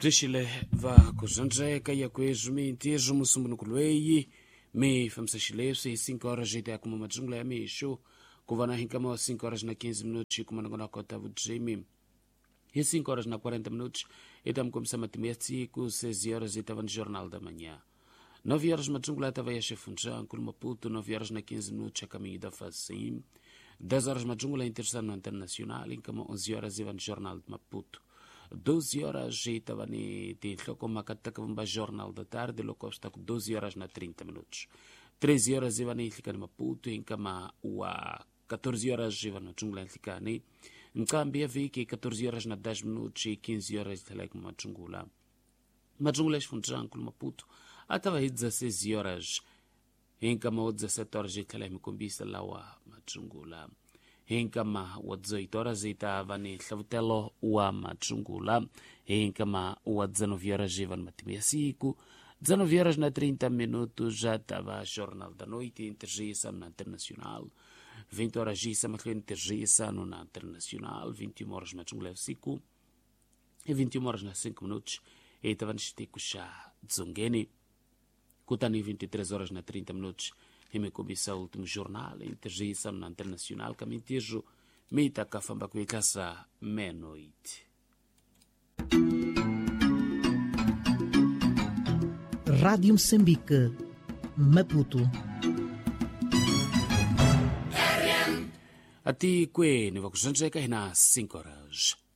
Bzixile va kuzandzeka ya kwezwi mintirho musumbunuku lweyi mi fambisa xileswi hi 5 horas ya kuma madzungula ya mixo ku va na hi nkama wa 5 horas na 15 minutos kuma nangona kota vudzimi hi 5 horas na 40 minutos i ta mi kombisa matimu ya siku 6 horas i ta va ni jornal da manhã. 9 horas madzungula ya ta va ya xefundzhankulu Maputo, 9 horas na 15 minutos a caminho da Facim. 10 horas madzungula interessado no Internacional, enkama 11 horas i va ni jornal de Maputo. 12 horas i ta va ni tinhlokomhaka ta ka vumba jornal da tarde loko swi ta ku 12 horas na 30 minutos. 13 horas i va ni nhlikani Maputo, enkama wa 14 horas i va ni madzungula ya nhlikani. Nqambi ya vhiki 14 horas na 10 minutos e 15 horas tlhela yi kuma madzungula. Madzungula ya xifundzankulu Maputo a ta va hi 16 horas, hi nkama wa 17 horas yi tlhela hi mi kombisa lawa madzungula. Hi nkama wa 18 horas yi ta va ni nhlavutelo wa madzungula. Hi nkama wa 19 horas yi va ni matimu ya siku. 19 horas na 30 minutos já ta va Jornal da Noite Intergissa na Internacional. 20 horas yisa mahlweni tirhisa no na Internacional. 21 horas madzungula ya vusiku e 21 horas na 5 minutos yi ta va ni xitiko xa dzongeni. Kutani 23 horas na 30 minutos hi mi kombisa último jornal intergissa na Internacional ka mintirho mi ta ka famba ku yitlasa meia-noite. Rádio Moçambique, Maputo. Atikweni va ku zvandzeka hina 5 horas.